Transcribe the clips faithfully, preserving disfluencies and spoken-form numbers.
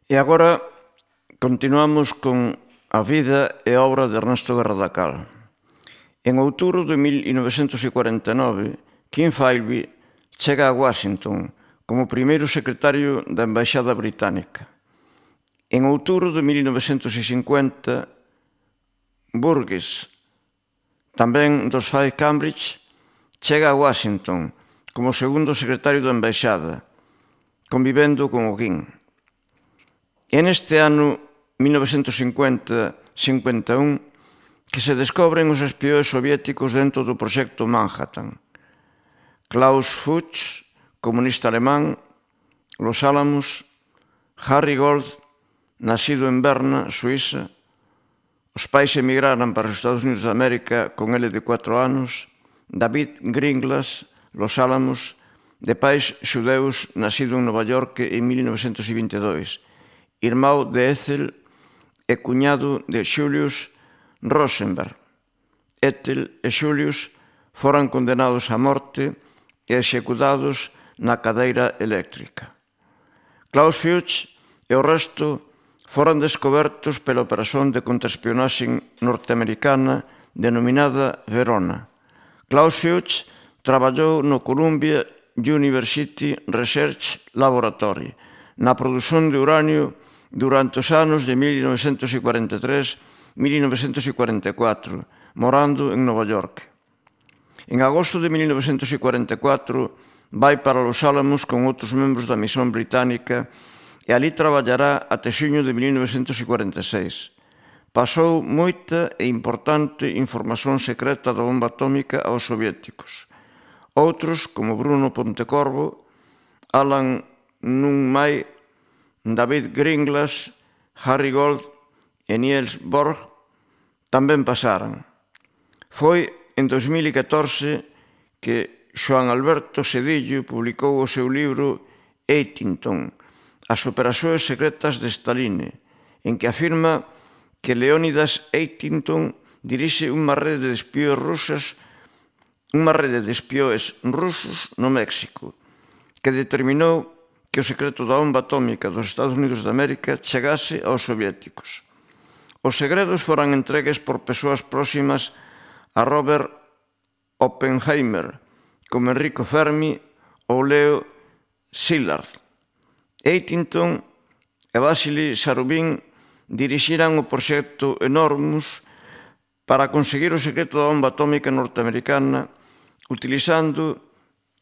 E agora continuamos con a vida e obra de Ernesto Guerra da Cal. En outubro de mil novecentos cuarenta e nove, King Philby chega a Washington como primeiro secretario da Embaixada Británica. En outubro de mil novecentos cincuenta, Burgess, tamén dos Five Cambridge, chega a Washington como segundo secretario da Embaixada, convivendo con o King. E neste ano mil novecentos cincuenta cincuenta e un que se descobren os espións soviéticos dentro do proxecto Manhattan. Klaus Fuchs, comunista alemán, Los Álamos, Harry Gold, nacido en Berna, Suíza. Os pais emigraran para os Estados Unidos de América con ele de cuatro anos. David Gringlas, Los Álamos, de pais xudeus, nacido en Nova York en mil novecentos vinte e dois. Irmão de Ethel e cuñado de Julius Rosenberg. Ethel e Julius foran condenados a morte e executados na cadeira eléctrica. Klaus Fuchs e o resto foran descobertos pela operación de contraespionaxe norteamericana denominada Verona. Klaus Fuchs traballou no Columbia University Research Laboratory na produción de uranio durante os anos de mil novecentos cuarenta e tres a mil novecentos cuarenta e catro, morando en Nova York. En agosto de mil novecentos cuarenta e catro vai para Los Álamos con outros membros da misión británica e ali traballará até xuño de mil novecentos cuarenta e seis. Pasou moita e importante información secreta da bomba atómica aos soviéticos. Outros, como Bruno Pontecorvo, Alan Nunn-May, David Gringlas, Harry Gold e Niels Bohr tamén pasaran. Foi en dos mil catorce que Joan Alberto Sedillo publicou o seu libro Eightington, as operacións secretas de Stalin, en que afirma que Leónidas Eightington dirixe unha rede de espións rusas, unha rede de espións rusos no México, que determinou que o secreto da bomba atómica dos Estados Unidos de América chegase aos soviéticos. Os segredos foran entregues por persoas próximas a Robert Oppenheimer, como Enrico Fermi ou Leo Szilard. Eightington e Vasily Zarubin dirixiran o proxecto Enormous para conseguir o secreto da bomba atómica norteamericana utilizando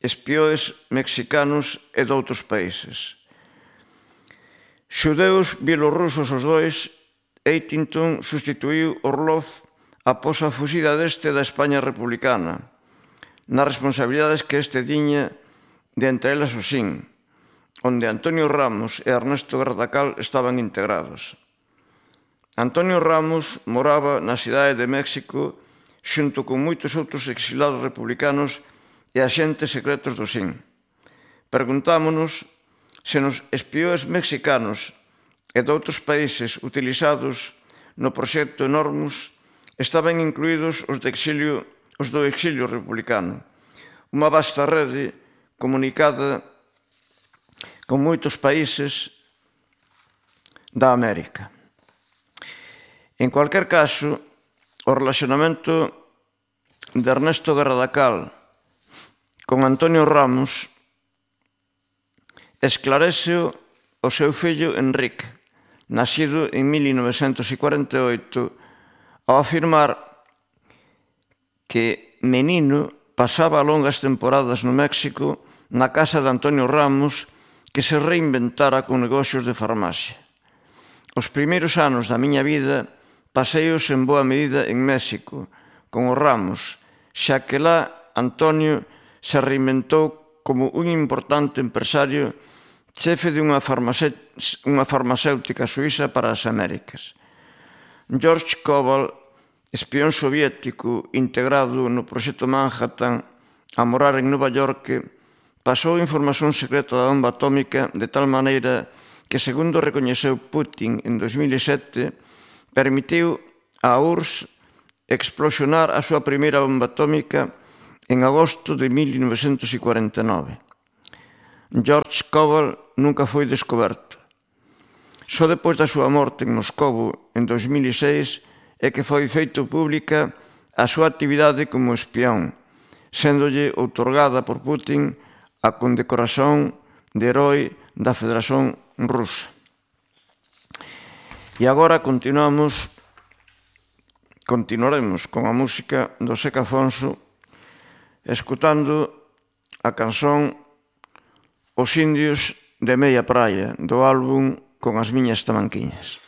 espións mexicanos e de outros países. Xudeus bielorrusos os dois, Eightington sustituiu Orlov após a fuxida deste da España republicana, nas responsabilidades que este tiña de entre elas o S I N, onde Antonio Ramos e Ernesto Guerra da Cal estaban integrados. Antonio Ramos moraba na cidade de México xunto con moitos outros exilados republicanos e axentes secretos do S I N. Preguntámonos se nos espións mexicanos e de outros países utilizados no proxecto Enormous estaban incluídos os, de exilio, os do exilio republicano, unha vasta rede comunicada con moitos países da América. En cualquier caso, o relacionamento de Ernesto Guerra da Cal con Antonio Ramos esclarece o seu fillo Enrique, nacido en mil novecentos cuarenta e oito, ao afirmar que menino pasaba longas temporadas no México na casa de Antonio Ramos, que se reinventara con negocios de farmacia. Os primeiros anos da miña vida paseos en boa medida en México, con os Ramos, xa que lá Antonio se reinventou como un importante empresario chefe de unha farmacéutica suíza para as Américas. George Koval, espión soviético integrado no proxecto Manhattan a morar en Nova York, pasou información secreta da bomba atómica de tal maneira que, segundo recoñeceu Putin en dos mil sete, permitiu a U R S S explosionar a súa primeira bomba atómica en agosto de mil novecentos cuarenta e nove. George Koval nunca foi descoberto. Só depois da súa morte en Moscovo en dos mil e seis é que foi feito pública a súa actividade como espión, séndolle outorgada por Putin a condecoración de Heroe da Federación Rusa. E agora continuamos, continuaremos con a música do Seca Afonso, escutando a canción Os indios de meia praia, do álbum Con as miñas tamanquiñas.